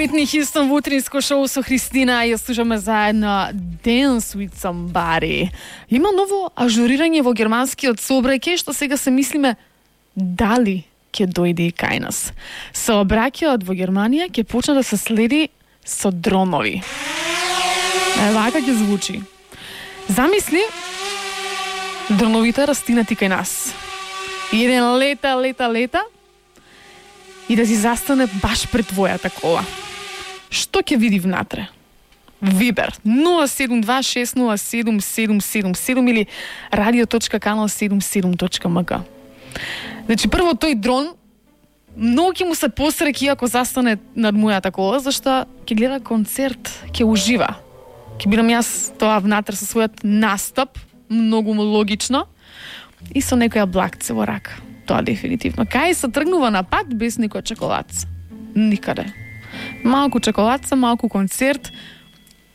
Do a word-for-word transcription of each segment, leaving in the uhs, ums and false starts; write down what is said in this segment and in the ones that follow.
Уитни Хјустон во утринско шоу со Христина и ја слушаме заедно Dance with Somebody. Има ново ажурирање во германскиот сообраќај што сега се мислиме дали ќе дојде и кај нас. Сообраќајот во Германија ќе почне да се следи со дронови. Е, вака ќе звучи. Замисли дроновите растинати кај нас. И еден лета, лета, лета и да си застане баш пред твојата кола. Што ќе види внатре? Вибер нула седум два шест нула седум седум седум седум или радио точка канал седумдесет и седум точка ем ка. Значи, прво тој дрон многу ќе му се посреќи ако застане над мојата кола, зашто ќе гледа концерт, ќе ужива. Ќе бидам јас тоа внатре со својот настап, многу логично, и со некоја блакце во рака. Тоа дефинитивно. Кај се тргнува на пат без никој чоколадца? Никаде. Малку чоколадца, малку концерт,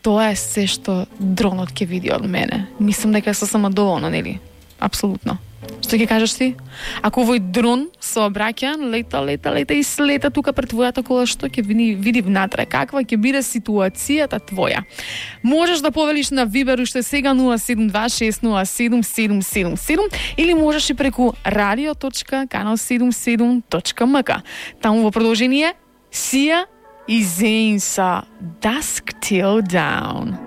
тоа е се што дронот ќе види од мене. Мислам дека се сама доволна, нели? Апсолутно. Што ќе кажеш ти? Ако овој дрон сообраќај, лета, лета, лета и слета тука пред твојата кола, што ќе види, види внатре? Каква ќе биде ситуацијата твоја? Можеш да повелиш на Вибер уште сега нула седум два шест нула седум седум седум седум или можеш и преку радио точка канал седумдесет и седум точка ем ка. Таму во продолжение Сија и Зейн са Dusk Till Dawn.